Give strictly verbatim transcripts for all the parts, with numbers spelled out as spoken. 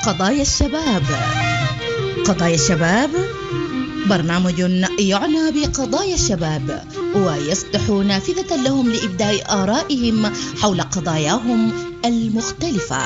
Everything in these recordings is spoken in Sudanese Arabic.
قضايا الشباب. قضايا الشباب برنامج يعنى بقضايا الشباب ويفتح نافذة لهم لإبداء آرائهم حول قضاياهم المختلفة.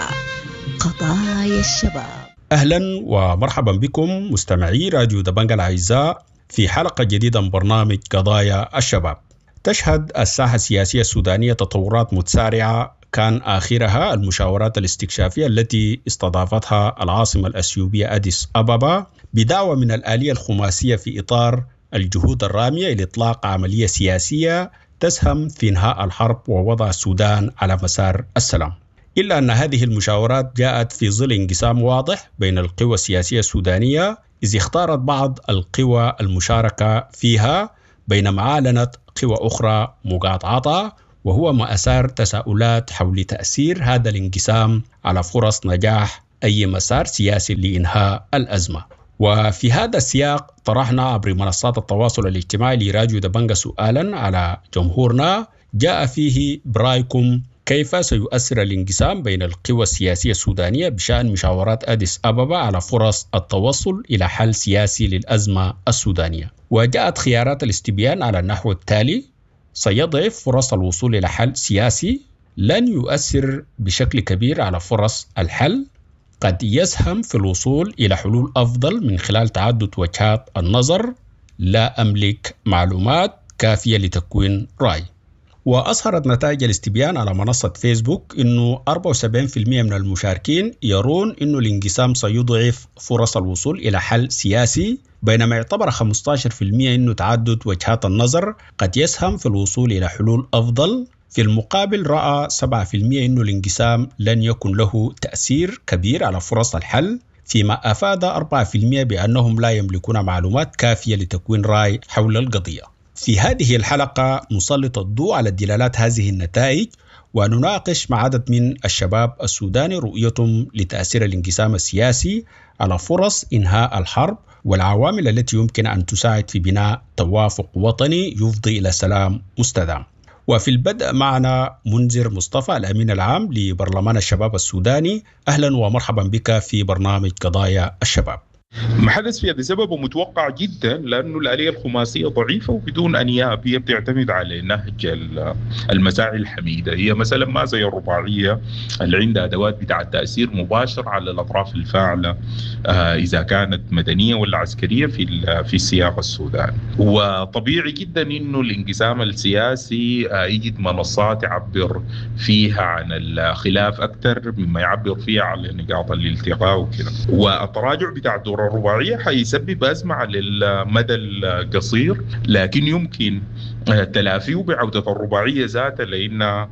قضايا الشباب. أهلا ومرحبا بكم مستمعي راديو دبنجا الأعزاء في حلقة جديدة من برنامج قضايا الشباب. تشهد الساحة السياسية السودانية تطورات متسارعة كان آخرها المشاورات الاستكشافية التي استضافتها العاصمة الأثيوبية أديس أبابا بدعوة من الآلية الخماسية في إطار الجهود الرامية إلى إطلاق عملية سياسية تسهم في إنهاء الحرب ووضع السودان على مسار السلام. إلا أن هذه المشاورات جاءت في ظل انقسام واضح بين القوى السياسية السودانية، إذ اختارت بعض القوى المشاركة فيها بينما أعلنت قوى أخرى مقاطعتها، وهو ما أثار تساؤلات حول تأثير هذا الانقسام على فرص نجاح أي مسار سياسي لإنهاء الأزمة. وفي هذا السياق طرحنا عبر منصات التواصل الاجتماعي لراديو دبنجا سؤالا على جمهورنا جاء فيه: برأيكم كيف سيؤثر الانقسام بين القوى السياسية السودانية بشأن مشاورات أديس أبابا على فرص التوصل إلى حل سياسي للأزمة السودانية؟ وجاءت خيارات الاستبيان على النحو التالي: سيضعف فرص الوصول إلى حل سياسي، لن يؤثر بشكل كبير على فرص الحل، قد يسهم في الوصول إلى حلول أفضل من خلال تعدد وجهات النظر، لا أملك معلومات كافية لتكوين رأي. وأظهرت نتائج الاستبيان على منصة فيسبوك أنه أربعة وسبعين بالمئة من المشاركين يرون أنه الانقسام سيضعف فرص الوصول إلى حل سياسي، بينما اعتبر خمسة عشر بالمئة أنه تعدد وجهات النظر قد يسهم في الوصول إلى حلول أفضل. في المقابل رأى سبعة بالمئة أنه الانقسام لن يكن له تأثير كبير على فرص الحل، فيما أفاد أربعة بالمئة بأنهم لا يملكون معلومات كافية لتكوين رأي حول القضية. في هذه الحلقة نسلط الضوء على دلالات هذه النتائج ونناقش مع عدد من الشباب السوداني رؤيتهم لتأثير الانقسام السياسي على فرص إنهاء الحرب والعوامل التي يمكن أن تساعد في بناء توافق وطني يفضي إلى سلام مستدام. وفي البدء معنا منذر مصطفى الأمين العام لبرلمان الشباب السوداني. أهلا ومرحبا بك في برنامج قضايا الشباب. ما حدث في هذا سببه متوقع جدا، لأنه الآلية الخماسية ضعيفة وبدون أنياب، هي بتعتمد على نهج المساعي الحميدة. هي مثلا ما زي الرباعية اللي عندها أدوات بتاع التأثير مباشر على الأطراف الفاعلة إذا كانت مدنية ولا عسكرية في في السياق السوداني. وطبيعي جدا إنه الانقسام السياسي يجد منصات يعبر فيها عن الخلاف أكثر مما يعبر فيها على نقاط الالتقاء وكذا. والتراجع بتاع دور الرباعية حيسبب أزمة على المدى القصير، لكن يمكن تلافيه بعودة الرباعية ذاتها، لأنها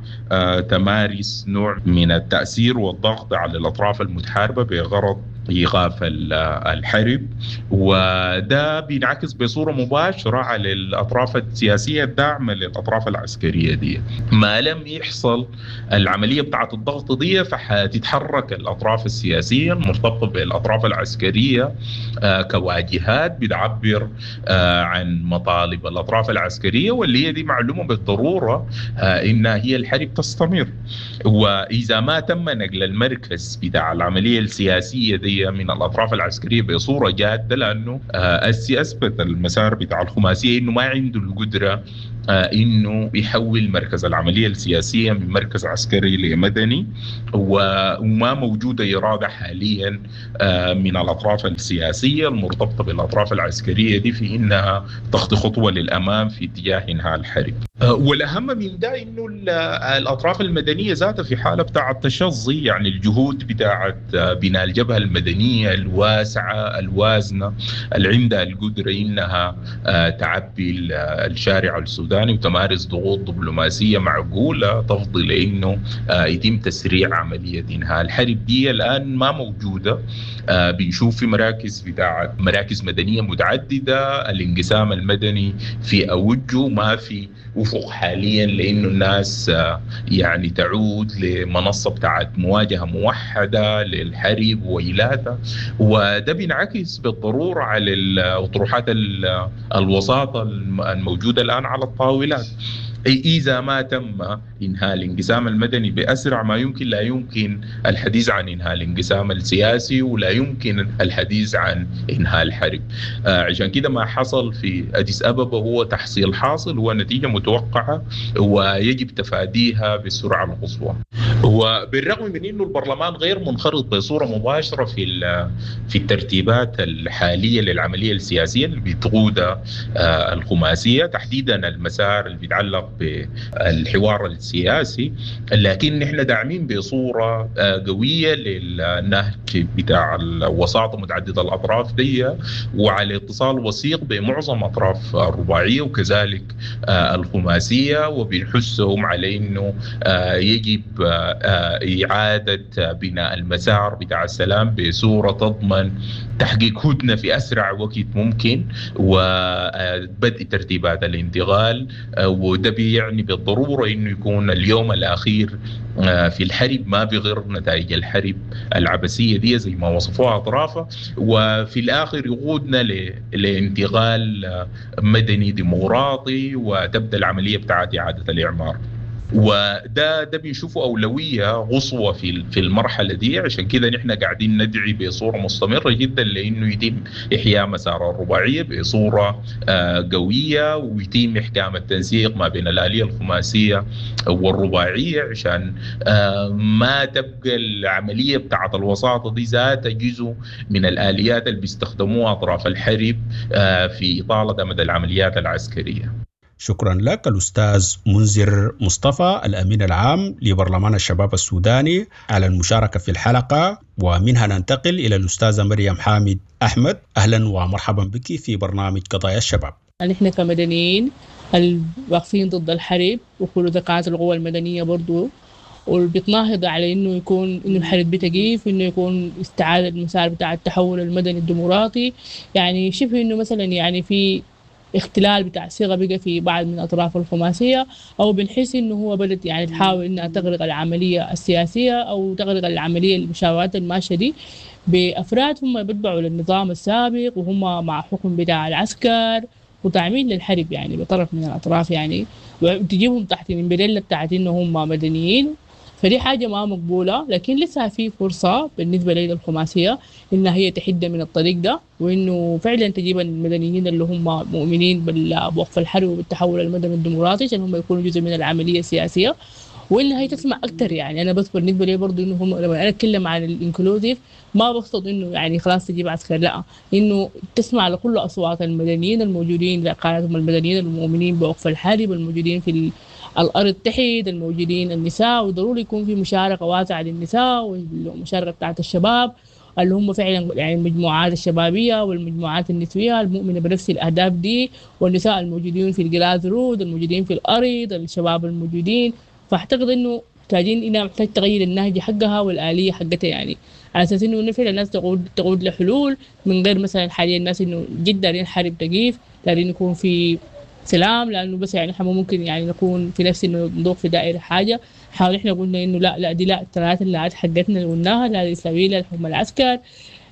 تمارس نوع من التأثير والضغط على الأطراف المتحاربة بغرض إيقاف الحرب، وده بينعكس بصورة مباشرة على الأطراف السياسية الداعمة للأطراف العسكرية دي. ما لم يحصل العملية بتاعة الضغط دي فحتتحرك الأطراف السياسية المرتبطة بالأطراف العسكرية كواجهات بتعبر عن مطالب الأطراف العسكرية، واللي هي دي معلومة بالضرورة إنها هي الحرب تستمر. وإذا ما تم نقل المركز بتاع العملية السياسية دي من الأطراف العسكرية بصورة جادة، لأنه أسي أثبت المسار بتاع الخماسية إنه ما عنده القدرة إنه يحول مركز العملية السياسية من مركز عسكري لمدني، وما موجودة إرادة حاليا من الأطراف السياسية المرتبطة بالأطراف العسكرية دي في إنها تخطي خطوة للأمام في اتجاه إنهاء الحرب. والأهم من ده إنه الأطراف المدنية ذاتها في حالة بتاعة تشظي، يعني الجهود بتاعة بناء الجبهة المدنية الواسعة الوازنة اللي عندها القدرة إنها تعبي الشارع السوداني وتمارس ضغوط دبلوماسية معقولة تفضي لأنه يتم تسريع عملية إنهاء الحرب دي الآن ما موجودة. بنشوف في مراكز بتاعة مراكز مدنية متعددة، الانقسام المدني في أوجه، ما في أفق حاليا لأنه الناس يعني تعود لمنصة بتاعت مواجهة موحدة للحرب وإلاتها، وده بينعكس بالضرورة على أطروحات الوساطة الموجودة الآن على الطاولات. إذا ما تم إنهاء الانقسام المدني بأسرع ما يمكن لا يمكن الحديث عن إنهاء الانقسام السياسي، ولا يمكن الحديث عن إنهاء الحرب. آه عشان كده ما حصل في أديس أبابا هو تحصيل حاصل، هو نتيجة متوقعة ويجب تفاديها بالسرعة القصوى. وبالرغم من أنه البرلمان غير منخرط بصورة مباشرة في في الترتيبات الحالية للعملية السياسية اللي بتقودها آه الخماسية، تحديدا المسار اللي بيتعلق بالحوار السياسي، لكن نحن داعمين بصورة قوية للنهج بتاع الوساطة متعددة الأطراف دي، وعلى اتصال وثيق بمعظم أطراف الرباعية وكذلك الخماسية، وبنحثهم على أنه يجب إعادة بناء المسار بتاع السلام بصورة تضمن تحقيق هدنة في أسرع وقت ممكن وبدء ترتيبات الانتقال. وده بيعني بالضرورة إنه يكون اليوم الأخير في الحرب ما بغير نتائج الحرب العبثية دي زي ما وصفوها أطرافها، وفي الآخر يقودنا لانتقال مدني ديمقراطي وتبدأ العملية بتاعت إعادة الإعمار. وده ده بنشوفه أولوية قصوى في في المرحلة دي. عشان كده نحن قاعدين ندعي بصورة مستمرة جدا لأنه يتم إحياء مسار الرباعية بصورة قوية، ويتم إحكام التنسيق ما بين الآلية الخماسية والرباعية، عشان ما تبقى العملية بتاعت الوساطة دي ذات جزء من الآليات اللي بيستخدموها أطراف الحرب في إطالة أمد العمليات العسكرية. شكرا لك الأستاذ منذر مصطفى الأمين العام لبرلمان الشباب السوداني على المشاركة في الحلقة. ومنها ننتقل إلى الأستاذة مريم حامد أحمد. أهلا ومرحبا بك في برنامج قضايا الشباب. نحن كمدنيين الواقفين ضد الحرب وكل ذكاءات القوى المدنية برضو، وبتناهض على إنه يكون إنه الحرب بتقيف، إنه يكون استعادة المسار بتاع التحول المدني الديمقراطي. يعني شبه إنه مثلا يعني في اختلال بتاع الصيغة بقى في بعض من أطراف الخماسية، أو بنحس إنه هو بدت يعني تحاول إنها تغرق العملية السياسية أو تغرق العملية المشاورات الماشية دي بأفراد هم بيتبعوا للنظام السابق وهم مع حكم بتاع العسكر وتعميل للحرب يعني بطرف من الأطراف، يعني وتجيبهم تحت الإمبريلا بتاعت إنه هم مدنيين. فدي حاجة ما مقبولة، لكن لسه في فرصة بالنسبة للخماسية إنها هي تحد من الطريق ده، وإنه فعلا تجيب المدنيين اللي هم مؤمنين بوقف الحرب وبالتحول المدني الديمقراطي عشان هم يكونوا جزء من العملية السياسية، وإنها هي تسمع أكتر. يعني أنا بس بالنسبة لي برضو إنه هم لما أنا أتكلم عن ال inclusive ما بقصد إنه يعني خلاص تجيب عسكر، لا، إنه تسمع لكل أصوات المدنيين الموجودين، لقادتهم المدنيين المؤمنين بوقف الحرب، الموجودين في الأرض تحت، الموجودين النساء، وضروري يكون في مشاركة واسعة للنساء والمشاركة بتاعت الشباب اللي هم فعلا يعني المجموعات الشبابية والمجموعات النسوية المؤمنة بنفس الأهداف دي، والنساء الموجودين في ال grassroot، الموجودين في الأرض، الشباب الموجودين. فأعتقد إنه محتاجين إنها محتاج تغير النهج حقها والآلية حقتها، يعني على أساس إنه فعلا الناس تقود تقود لحلول من غير مثلا حاليا الناس إنه جدا دارين حرب تقيف، دارين يكون في سلام، لأنه بس يعني إحنا ممكن يعني نكون في نفس إنه نضوق في دائرة حاجة. حاول إحنا قلنا إنه لا لا دي لا الثلاثة اللي حقتنا اللي قلناها، لا الإسلاميين لا الحكم العسكر،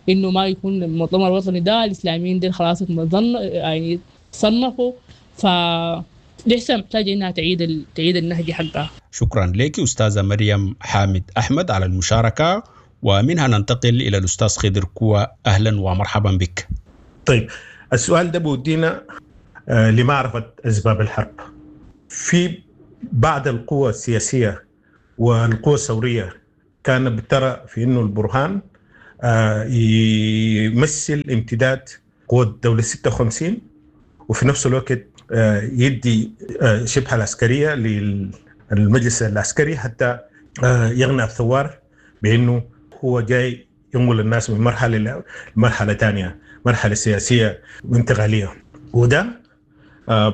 إنه ما يكون المؤتمر الوطني ده الإسلاميين دي خلاص يعني صنفوا. ف لسه محتاجة إنها تعيد ال... تعيد النهج حقها. شكرا لك أستاذة مريم حامد أحمد على المشاركة. ومنها ننتقل إلى الأستاذ خضر كوا. أهلا ومرحبا بك. طيب السؤال ده بودينا لمعرفة أسباب الحرب. في بعض القوى السياسية والقوى الثورية كان بترى في أنه البرهان يمثل امتداد قوة الدولة ستة وخمسين، وفي نفس الوقت يدي شبه العسكرية للمجلس العسكري حتى يغنى الثوار بأنه هو جاي ينقل الناس من مرحلة لمرحلة ثانية، مرحلة سياسية وانتقالية. وده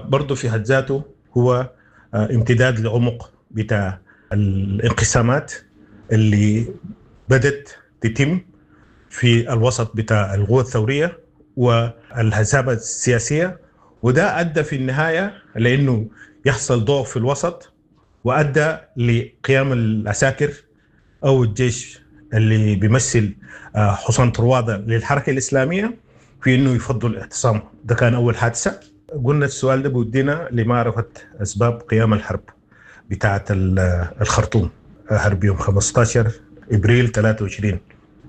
برضو في حد ذاته هو امتداد لعمق بتاع الانقسامات اللي بدت تتم في الوسط بتاع القوى الثورية والحزاب السياسية، وده أدى في النهاية لأنه يحصل ضعف في الوسط، وأدى لقيام العساكر أو الجيش اللي بيمثل حصان طروادة للحركة الإسلامية في أنه يفضل الاعتصام. ده كان أول حادثة. قلنا السؤال ده بودينا لمعرفة أسباب قيام الحرب بتاعة الخرطوم، حرب يوم خمستاشر إبريل ثلاثة وعشرين.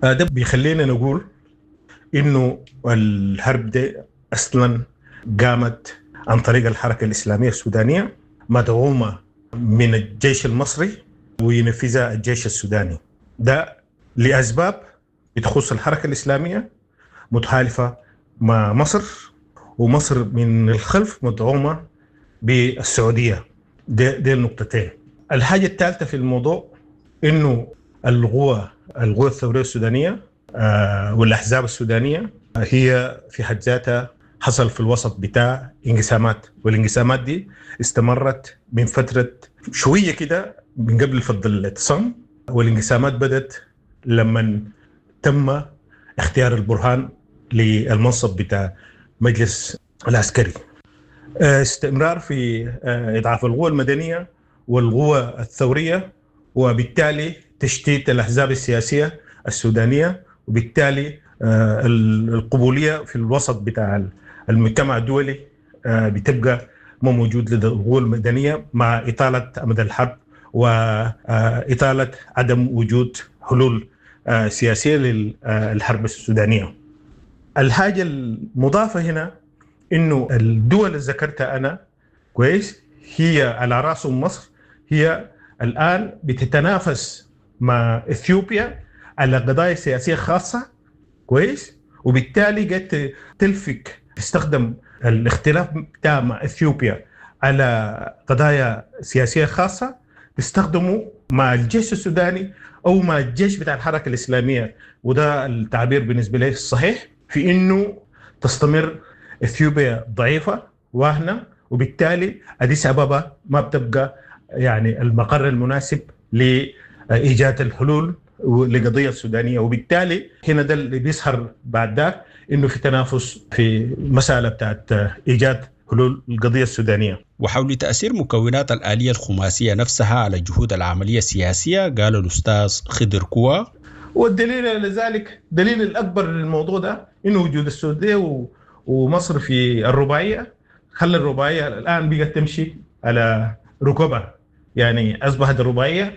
ده بيخلينا نقول إنه الحرب دي أصلا قامت عن طريق الحركة الإسلامية السودانية مدعومة من الجيش المصري وينفذها الجيش السوداني، ده لأسباب بتخص الحركة الإسلامية متحالفة مع مصر، ومصر من الخلف مدعومة بالسعودية. دي, دي النقطتين. الحاجة الثالثة في الموضوع إنه القوى القوى الثورية السودانية والأحزاب السودانية هي في حد ذاتها حصل في الوسط بتاع انقسامات، والانقسامات دي استمرت من فترة شوية كده من قبل فض الاعتصام، والانقسامات بدت لما تم اختيار البرهان للمنصب بتاع مجلس العسكري. استمرار في إضعاف القوى المدنية والقوى الثورية، وبالتالي تشتيت الأحزاب السياسية السودانية، وبالتالي القبولية في الوسط بتاع المجتمع الدولي بتبقى ما موجود لدى القوى المدنية، مع إطالة أمد الحرب وإطالة عدم وجود حلول سياسية للحرب السودانية. الحاجة المضافة هنا إنه الدول اللي ذكرتها أنا كويس هي على رأسهم مصر، هي الآن بتتنافس مع إثيوبيا على قضايا سياسية خاصة كويس، وبالتالي قد تلفك تستخدم الاختلاف بتاع مع إثيوبيا على قضايا سياسية خاصة تستخدمه مع الجيش السوداني أو مع الجيش بتاع الحركة الإسلامية، وده التعبير بالنسبة لي الصحيح في إنه تستمر إثيوبيا ضعيفة واهنة، وبالتالي أديس أبابا ما بتبقى يعني المقر المناسب لإيجاد الحلول لقضية السودانية. وبالتالي هنا ده اللي بيظهر بعد ذاك إنه في تنافس في مسألة بتاعت إيجاد حلول القضية السودانية. وحول تأثير مكونات الآلية الخماسية نفسها على جهود العملية السياسية قال الأستاذ خضر كوا: والدليل على ذلك، دليل الأكبر للموضوع ده إنه وجود السعودية ومصر في الرباعية خلى الرباعية الآن بقت تمشي على ركبها، يعني أصبحت الرباعية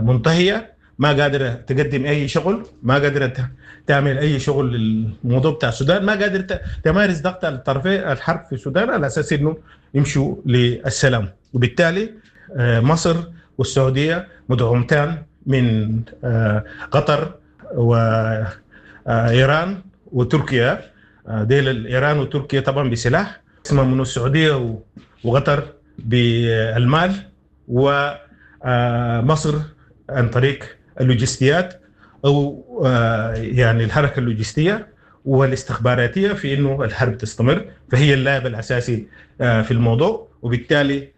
منتهية، ما قادرة تقدم أي شغل، ما قادرة تعمل أي شغل للموضوع بتاع السودان، ما قادرة تمارس ضغط على الطرفين الحرب في السودان على أساس إنه يمشوا للسلام. وبالتالي مصر والسعودية مدعومتان من قطر وإيران وتركيا، ديل إيران وتركيا طبعا بسلاح، اسمها من السعودية وقطر بالمال، ومصر عن طريق اللوجستيات أو يعني الحركة اللوجستية والاستخباراتية في إنه الحرب تستمر، فهي اللاعب الأساسي في الموضوع. وبالتالي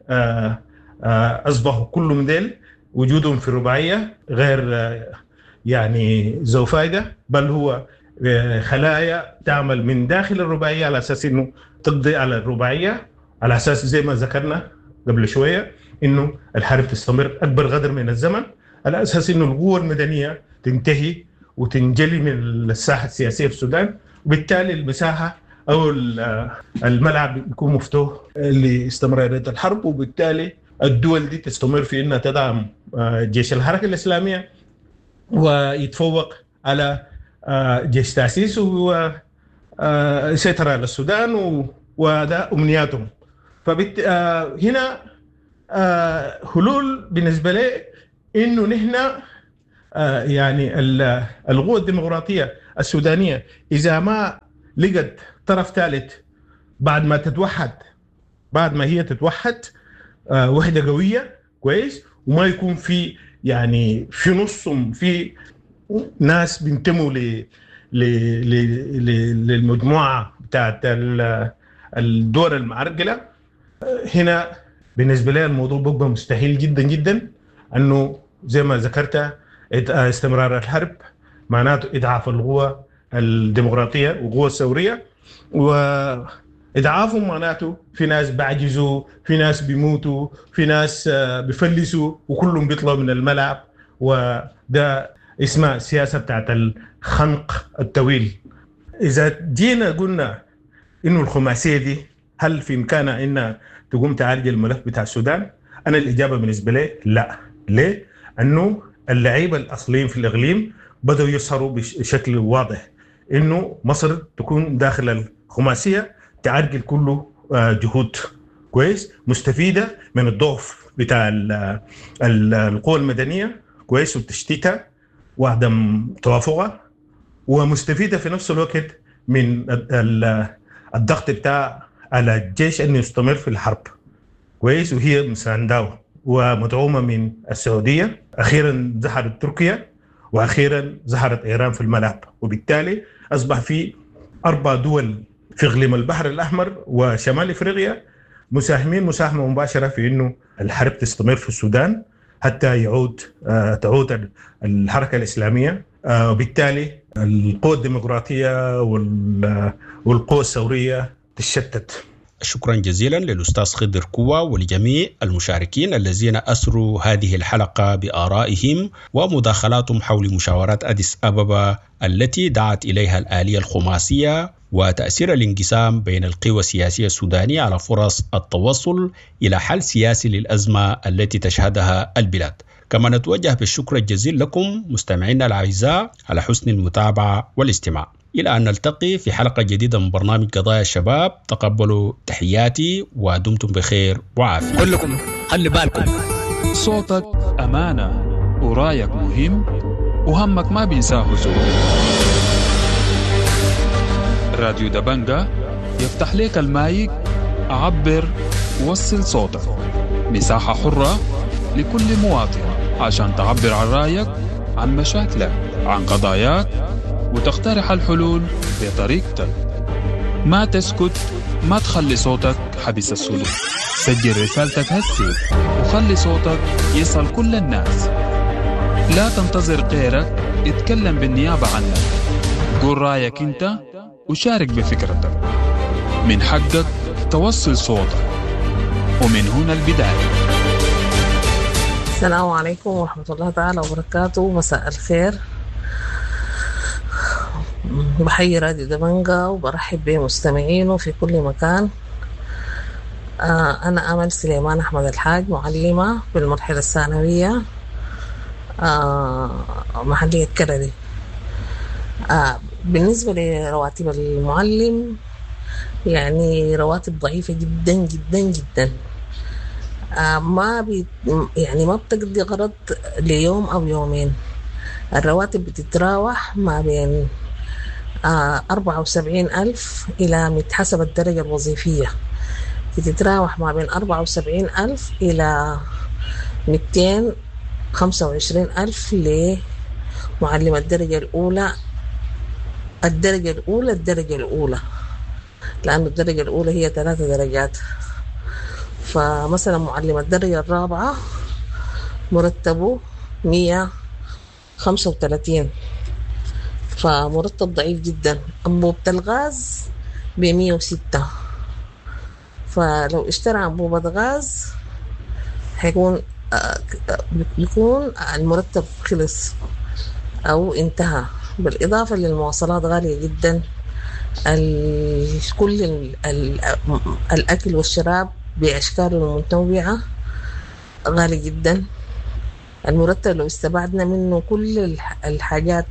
أصبحوا كل من ديل وجودهم في الرباعية غير يعني ذو فائدة، بل هو خلايا تعمل من داخل الرباعية على أساس إنه تقضي على الرباعية، على أساس زي ما ذكرنا قبل شوية إنه الحرب تستمر أكبر قدر من الزمن، على أساس إنه القوة المدنية تنتهي وتنجلي من الساحة السياسية في السودان، وبالتالي المساحة أو الملعب يكون مفتوح لاستمرارية الحرب، وبالتالي الدول دي تستمر في إنها تدعم جيش الحركة الإسلامية ويتفوق على جيش تأسيس ويسيطر على السودان، وده أمنياتهم. فبت... هنا حلول بالنسبة لي إنه نحن يعني القوة الديمقراطية السودانية إذا ما لقت طرف ثالث بعد ما تتوحد، بعد ما هي تتوحد وحدة قوية كويس، وما يكون في يعني في نصهم في ناس بينتموا ل للمجموعة بتاعت الدول المعرقلة، هنا بالنسبة لي الموضوع بيبقى مستحيل جدا جدا. أنه زي ما ذكرت استمرار الحرب معناته إضعاف القوى الديمقراطية والقوى الثورية، وإضعافهم معناته في ناس بعجزوا، في ناس بيموتوا، في ناس بيفلسوا، وكلهم بيطلعوا من الملعب. وده اسمها السياسة بتاعت الخنق الطويل. إذا جينا قلنا إنه الخماسية دي هل في إمكانها أنها تقوم تعالج الملف بتاع السودان؟ أنا الإجابة بالنسبة لي لا. ليه؟ أنه اللعيبة الأصليين في الإقليم بدأوا يظهروا بشكل واضح إنه مصر تكون داخل الخماسية تعرقل كله جهود كويس مستفيدة من الضعف بتاع القوى المدنية كويس وتشتيتها وعدم توافقها، ومستفيدة في نفس الوقت من الضغط بتاع على الجيش أنه يستمر في الحرب كويس، وهي مسانداه ومدعومة من السعودية. أخيرا ظهرت تركيا، وأخيرا ظهرت إيران في الملعب، وبالتالي أصبح في أربع دول في إقليم البحر الأحمر وشمال إفريقيا مساهمين مساهمة مباشرة في أنه الحرب تستمر في السودان حتى يعود تعود الحركة الإسلامية، وبالتالي القوى الديمقراطية والقوى الثورية تشتت. شكرا جزيلا للأستاذ خضر كوا ولجميع المشاركين الذين أسروا هذه الحلقة بآرائهم ومداخلاتهم حول مشاورات أديس أبابا التي دعت إليها الآلية الخماسية وتأثير الانقسام بين القوى السياسية السودانية على فرص التوصل إلى حل سياسي للأزمة التي تشهدها البلاد. كما نتوجه بالشكر الجزيل لكم مستمعينا الأعزاء على حسن المتابعة والاستماع. إلى أن نلتقي في حلقة جديدة من برنامج قضايا الشباب، تقبلوا تحياتي ودمتم بخير وعافية. كلكم خلي بالكم، صوتك أمانة ورايك مهم وهمك ما بينساه زول. راديو دبنجا يفتح لك المايك، عبر وصل صوتك، مساحة حرة لكل مواطن عشان تعبر عن رأيك، عن مشاكلك، عن قضاياك، وتقترح الحلول بطريقتك. ما تسكت، ما تخلي صوتك حبس السلوك. سجل رسالتك هسي وخلي صوتك يصل كل الناس. لا تنتظر غيرك يتكلم بالنيابة عنك. قول رأيك انت وشارك بفكرتك. من حقك توصل صوتك، ومن هنا البداية. السلام عليكم ورحمة الله تعالى وبركاته. مساء الخير. بحيي راديو دبنجا وبرحب بمستمعينه في كل مكان. أنا أمل سليمان أحمد الحاج، معلمة بالمرحلة الثانوية محلية كردي. بالنسبة لرواتب المعلم، يعني رواتب ضعيفة جدا جدا جدا، ما بي يعني ما بتقضي غرض ليوم أو يومين. الرواتب بتتراوح ما بين أربعة وسبعين ألف إلى حسب الدرجة الوظيفية، بتتراوح ما بين أربعة وسبعين ألف إلى مئتين خمسة وعشرين ألف لمعلم الدرجة الأولى. الدرجة الأولى الدرجة الأولى لأن الدرجة الأولى هي ثلاثة درجات. فمثلا معلم الدرجة الرابعة مرتبه مية خمسة وثلاثين، فمرتب ضعيف جدا. أنبوبة الغاز بمية وستة، فلو اشترى أنبوبة غاز حيكون بيكون المرتب خلص أو انتهى. بالإضافة للمواصلات غالية جدا، كل الأكل والشراب بأشكاله المتنوعة غالي جدا. المرتب لو استبعدنا منه كل الحاجات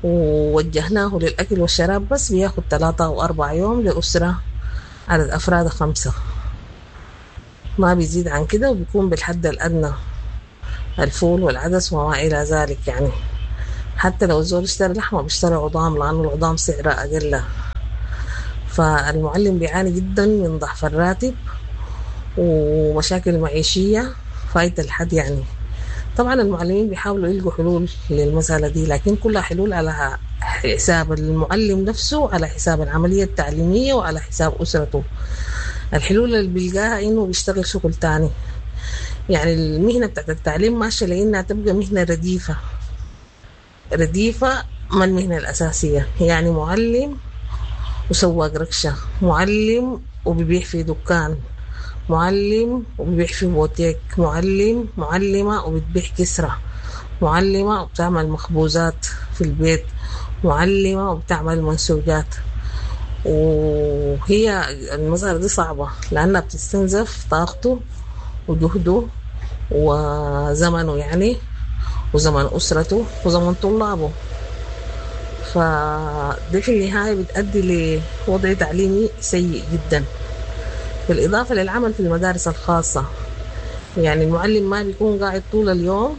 ووجهناه للأكل والشراب بس بياخد ثلاثة أو أربع يوم لأسرة عدد أفراد خمسة، ما بيزيد عن كده، وبيكون بالحد الأدنى الفول والعدس وما إلى ذلك. يعني حتى لو الزول اشترى لحمة بيشتري عظام لأنه العظام سعرها أقل. فالمعلم بيعاني جدا من ضعف الراتب ومشاكل معيشية فايتة الحد. يعني طبعا المعلمين بيحاولوا يلقوا حلول للمسألة دي، لكن كلها حلول على حساب المعلم نفسه، على حساب العملية التعليمية، وعلى حساب أسرته. الحلول اللي بيلقاها إنه بيشتغل شغل تاني. يعني المهنة بتاعت التعليم ماشية لأنها تبقى مهنة رديفة، رديفة ما المهنة الأساسية. يعني معلم وسواق ركشة، معلم وبيبيع في دكان، معلم وبيبيع في بوتيك، معلم معلمة وبتبيع كسرة، معلمة وبتعمل مخبوزات في البيت، معلمة وبتعمل منسوجات. وهي المسألة دي صعبة لأنها بتستنزف طاقته وجهده وزمنه يعني، وزمن أسرته وزمن طلابه. فده في النهاية بتأدي لوضع تعليمي سيء جدا. بالإضافة للعمل في المدارس الخاصة، يعني المعلم ما بيكون قاعد طول اليوم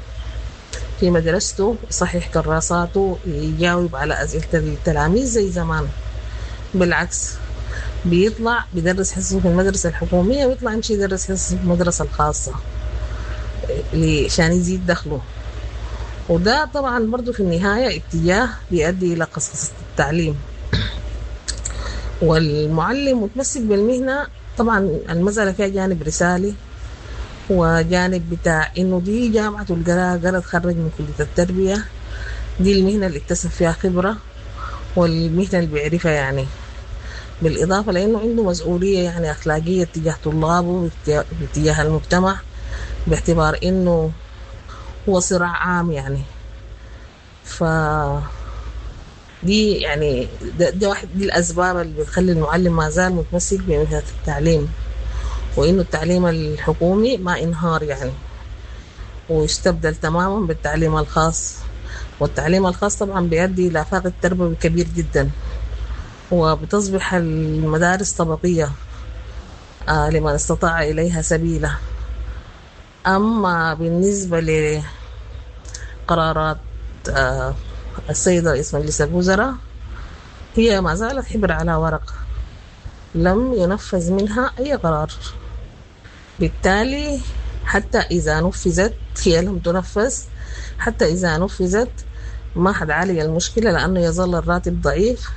في مدرسته يصحح كراساته يجاوب على أسئلة التلاميذ زي زمان، بالعكس بيطلع بيدرس حصصه في المدرسة الحكومية ويطلع يمشي يدرس حصصه في المدرسة الخاصة عشان يزيد دخله. وده طبعا برضو في النهاية اتجاه بيؤدي إلى قصقصة التعليم. والمعلم متمسك بالمهنة، طبعا المسألة فيها جانب رسالي وجانب بتاع إنه دي جامعة القراءة، قرأ تخرج من كلية التربية، دي المهنة اللي اكتسب فيها خبرة والمهنة اللي بيعرفها يعني. بالإضافة لأنه عنده مسؤولية يعني أخلاقية تجاه طلابه وتجاه المجتمع، باعتبار إنه هو صراع عام يعني. ف دي يعني ده, ده واحد دي الأسباب اللي بتخلي المعلم ما زال متمسك بمهنة التعليم، وإنه التعليم الحكومي ما انهار يعني ويستبدل تماما بالتعليم الخاص. والتعليم الخاص طبعا بيؤدي إلى فاقد تربوي كبير جدا، وبتصبح المدارس طبقية آه لمن استطاع إليها سبيلا. أما بالنسبة لقرارات آه السيد رئيس مجلس الوزراء، هي ما زالت حبر على ورق، لم ينفذ منها أي قرار. بالتالي حتى إذا نفذت هي لم تنفذ، حتى إذا نفذت ما حد عالج المشكلة لأنه يظل الراتب ضعيف.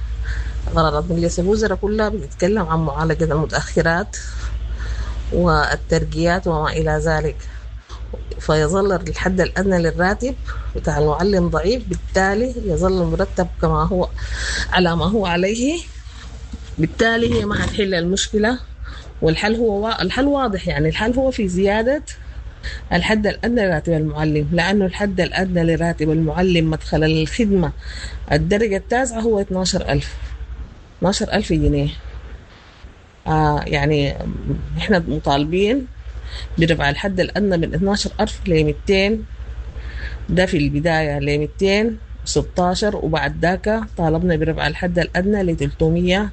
قرارات مجلس الوزراء كلها بتتكلم عن معالجة المتأخرات والترقيات وما إلى ذلك، فيظل الحد الأدنى للراتب بتاع المعلم ضعيف، بالتالي يظل المرتب كما هو على ما هو عليه. بالتالي هي ما حتحل المشكلة، والحل هو الحل واضح يعني، الحل هو في زيادة الحد الأدنى لراتب المعلم، لأنه الحد الأدنى لراتب المعلم مدخل الخدمة الدرجة التاسعة هو اثناشر ألف اثناشر ألف جنيه. آه يعني احنا مطالبين برفع الحد الأدنى من اثناشر ألف ل مئتين، ده في البداية ل مئتين وستاشر، وبعد ذاك طالبنا برفع الحد الأدنى ل ثلاثمية.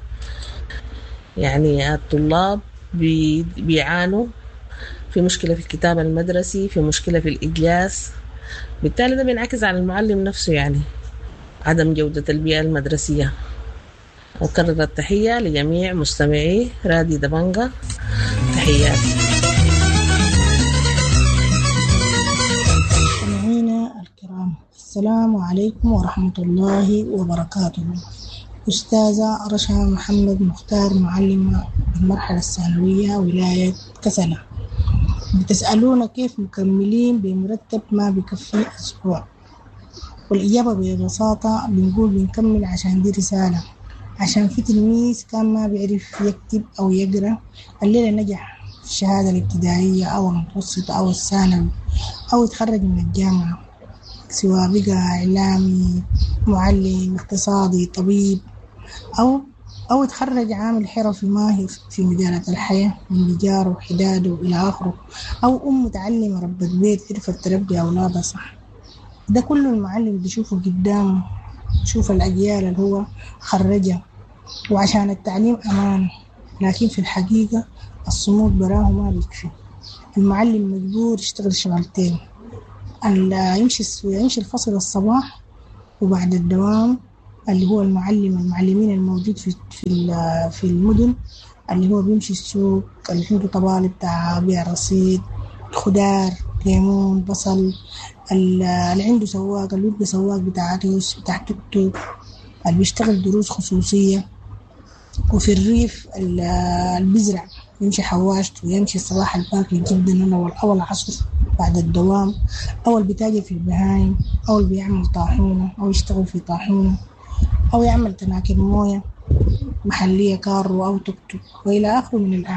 يعني الطلاب بي بيعانوا في مشكلة في الكتاب المدرسي، في مشكلة في الإجلاس، بالتالي ده بينعكس على المعلم نفسه يعني عدم جودة البيئة المدرسية. أكرر التحية لجميع مستمعي راديو دبنجة، تحياتي. مستمعينا الكرام، السلام عليكم ورحمة الله وبركاته. أستاذة رشا محمد مختار، معلمة بالمرحلة الثانوية ولاية كسلة. بتسألونا كيف مكملين بمرتب ما بكفي أسبوع؟ والإجابة ببساطة بنقول بنكمل عشان دي رسالة، عشان في تلميذ كان ما بيعرف يكتب أو يقرأ الليلة نجح في الشهادة الابتدائية أو المتوسطة أو الثانوي أو يتخرج من الجامعة، سواء بقى إعلامي، معلم، اقتصادي، طبيب، أو أو يتخرج عامل حرفي ماهر في مجالات الحياة من نجارة وحداده وإلى آخره، أو أم متعلمة ربة بيت عرفت تربي أولادها صح. ده كله المعلم بيشوفه قدامه، يشوف الأجيال اللي هو خرجها. وعشان التعليم أمان، لكن في الحقيقة الصمود براه ما بيكفي. المعلم مجبور يشتغل شغلتين، يمشي يمشي الفصل الصباح وبعد الدوام اللي هو المعلم المعلمين الموجود في في في المدن، اللي هو بيمشي السوق، اللي عنده طبالي بتاع بيع رصيد، خضار، ليمون، بصل، اللي عنده سواق، اللي بيبقى سواق بتاع عريس، بتاع توك توك، اللي بيشتغل دروس خصوصية. وفي الريف اللي بيزرع يمشي حواشته ويمشي الصباح الباكر جدا أو أو العصر بعد الدوام، أو اللي بيتاجر في البهايم، أو اللي بيعمل طاحونة أو يشتغل في طاحونة، أو يعمل تناكر موية محلية كارو أو توك توك وإلى آخره من الأعمال.